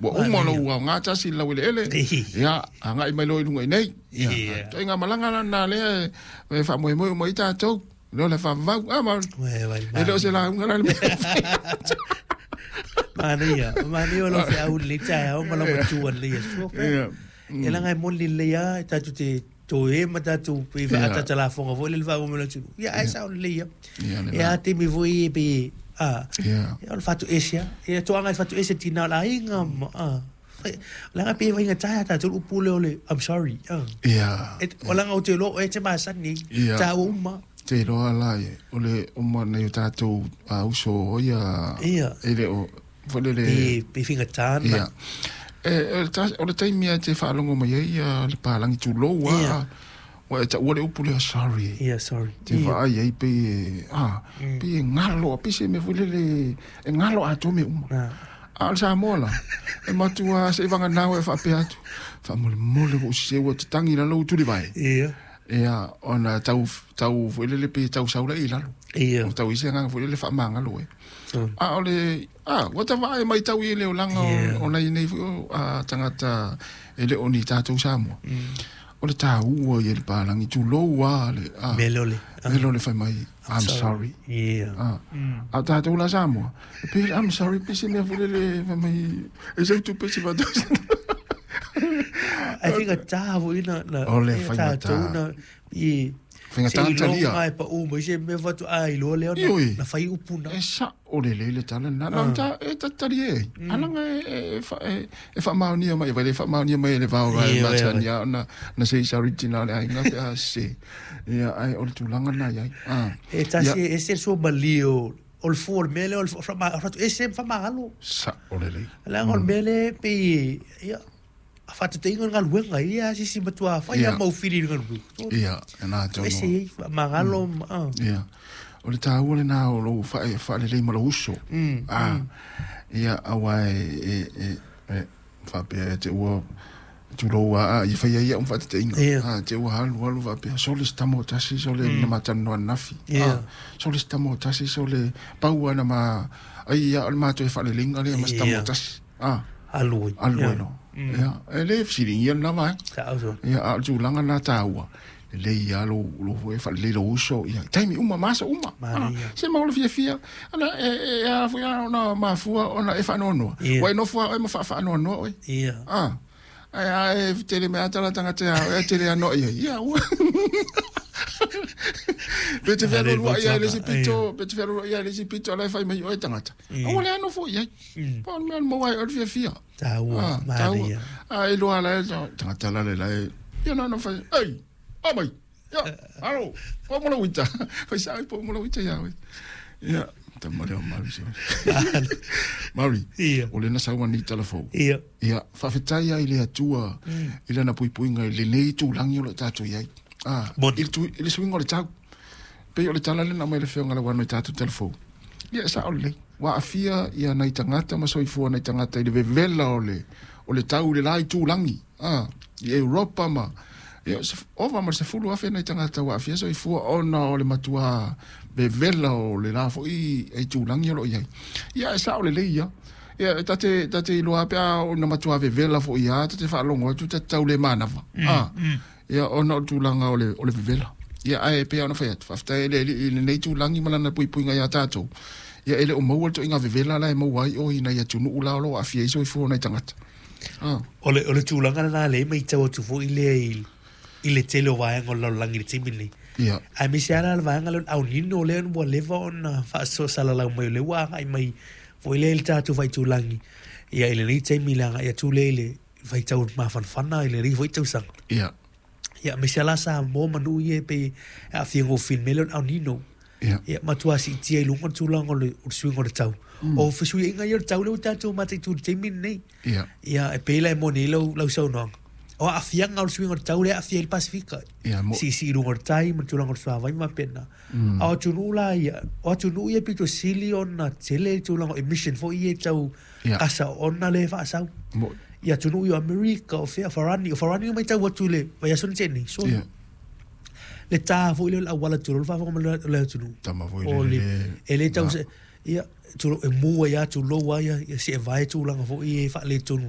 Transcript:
Ua uma lou aoga tasi i le laueleele, ia, agai mai loa i luga i nei. Ia, ituaiga malaga la lena lea e faamoemoe uma i ai tatou. Lea o le faavavau. A, Mauli? E le o se lauga la le mea. Manaia, manaia o lau feau i lenei taeao ma lau matua i lenei aso. E leaga e moni lelei lava tatou te toe ma tatou pei faaataata lafoga foi lele faamoemoe i le atunuu. Ia ae sao lelei lava. E a taimi foi e pei a o le fatoese lava. E toaga i le fatoese tina o le aiga ma a. Leaga pei e faigata ia tatou le upu lea o le I'm sorry. O leaga ou te iloa o oe e te masani ai. Taua uma. Te iloa la o le uma nei o tatou uso o ia e le o foi lele pe faigata na. O le taimi e te faalogo mai ai le palagi tulou a. Ua e taua le upu lea sorry. Yeah, sorry. Te vaai ai pei e, ah, pei e galo, pei se mea foi lele e galo atoa mea uma. A o le Samoa la, e matua se i vaganau e faapea atu, faamolemole ua ou sese ua tatagi i lalo ua tulivae. Ia. Ia, ona tau, tau foi lele pei e tau sau lea i lalo. Ia. O tau i se agaga foi lele faamagalo ai. A o le, a, ua ta vaai matau i le olaga o nai nei foi o tagata e le o ni tatou Samoa. O le taua ia i le palagi, tulou a le, a, Mea lea o le, mea lea o le fai mai, I'm sorry. Yeah. A, a o tatou la Samoa, e pei le I'm sorry pei se mea foi lele fai mai, e sau tupe se faatasi. Ae faigata foi na, na, O le faigata. tatou na, i, Faigata ona talia. Seiloga e pau mai se mea faatoa iloa lea ona Ioe. na fai upu na. E sao lelei le tala lena. Na ta e talie ai. Alaga e e faamaonia mai, vai le faamaonia mai e le vao vai Ioe, masani a ona na se sorry tina o le aiga pe a se. Ia ai o le tulaga lena i ai. Ah. E tasi e ese le sua malie o o le fua o le mea lea o le ese ma faamagalo. Sao lelei. Leaga o le mea lea e pei ia a faataitaiga o le galuega ia a se isi matua fai lava mau fili i le galuega. Ia, e na tonu. Ese ai faamagalo ma a. Ia. O le taua lena o lou faalelei ma lou uso. A. Ia, aua e, e, e, faapea e te ua tulou a, ia fai ai au ma faataitaiga. A, te ua alu alu faapea, sole se tama o tasi, sole na ma talanoa ananafi. A, sole se tama o tasi, sole pau lava na ma, ai ia o le matou faaleleiga lea ma se tama o tasi. A. Alu ai. Alu ai loa. Ia, e le fesiligia lena vaega. Sao soo. Ia, a o le tulaga lena taua, lelei lava lou, lou foi faalelei lou uso, ia, i taimi uma ma aso uma. Manaia. Se ma o le fiafia, ana, e, e, e ala foi ona mafua ona e faanoanoa. Ia. Ua e nofo lava oe ma faafaanoanoa oe. Ia. A, ae a e tele mai lava tala tagata ia oe, ae tele anoa i ai. Ia, ua. Pe te fealualuai lava i le isi pito, pe te fealualuai lava i le isi pito, a o la e fai mai oe tagata. Aua le nofo i ai. Pau o le mea maua ai oe le fiafia. Taua, manaia. A iloa la e tagata la le la e, ia na ona fai, ei, o mai, ia, alo, pau mo lau ita. Fai sao pau mo lau ita ia oe. Ia, tama lea o Mauri se. Mauri, Ia. o lena sau ani tala fou. Ia. Ia, faafetai ai le Atua i lana puipuiga i lenei itulagi o lo o tatou i ai. Ah, Moni. i le, i le suiga o le tau. Pei o le tala lena mai le Afioga Lauano i tatou tala fou. Ia, e sao lelei. Ua aafia ia nai tagata ma soifua nai tagata i le vevela o le, o le tau i le la itulagi, a, i Europa ma, ia, ova ma le 10,000 nai tagata ua aafia soifua ona o le matua vevela o le la foi itulagi o lo o i ai. Ia, e sao lelei ia. Ia, ta te, ta te iloa pe a ona matua vevela foi ia, ta te faalogo atu, ta te tau le manava. A, ia, ona o le tulaga o le, o le vevela. Ia, ae pei lava ona fai atu, faafetai e le Alii i lenei itulagi ma lana puipuiga iā tatou, ia e le o maua le toaiga vevela la e maua ai o i nai atunuu la o lo o aafia ai soifua o nai tagata. Ah. O le, o le tulaga lena lea e matau atu foi lea i, i le tele o vaega o le lalolagi i le taimi lenei. Ia. Aemaise lava la le vaega lea o le El Nino lea ua leva ona faasalalau mai o lea ua agai mai foi lea i le tatou faitulagi ia i lenei taimi i le agai atu lea i le faitau mafanafana i lenei foi tausaga. Ia. Ia, aemaise lava la Samoa ma nuu ia e pei e aafia gofie i le mea lea o le El Nino. Ia. Ia, matua siitia i luga le tulaga o le, o le suiga o le tau. O fesuiaiga ia o le tau lea ua tatou mataitu i le taimi lenei. Ia. Ia, e pei la e moni ai lau, lau saunoaga. O aafiaga o le suiga o le tau lea e aafia ai le Pasefika. Ia, mo- Siisii i luga o le tai ma le tulaga o le suavai ma faapena. A o atunuu la ia, o atunuu ia pito sili ona tele le tulaga o emission foi ia e tau Ia. kasa ona le faasau. Mo- I atunuu i o Amerika, o fea, Farani, o Farani na matau atu i le vaiaso na tea nei, so Ia. le tā foi lea o le auala tulou le faafofoga mai le le atunuu. Tama foi O le le, le- e le tau se, ia, tulou, e mu ai lava tulou lava ia, ia seevae tulaga foi ia e faaletonu.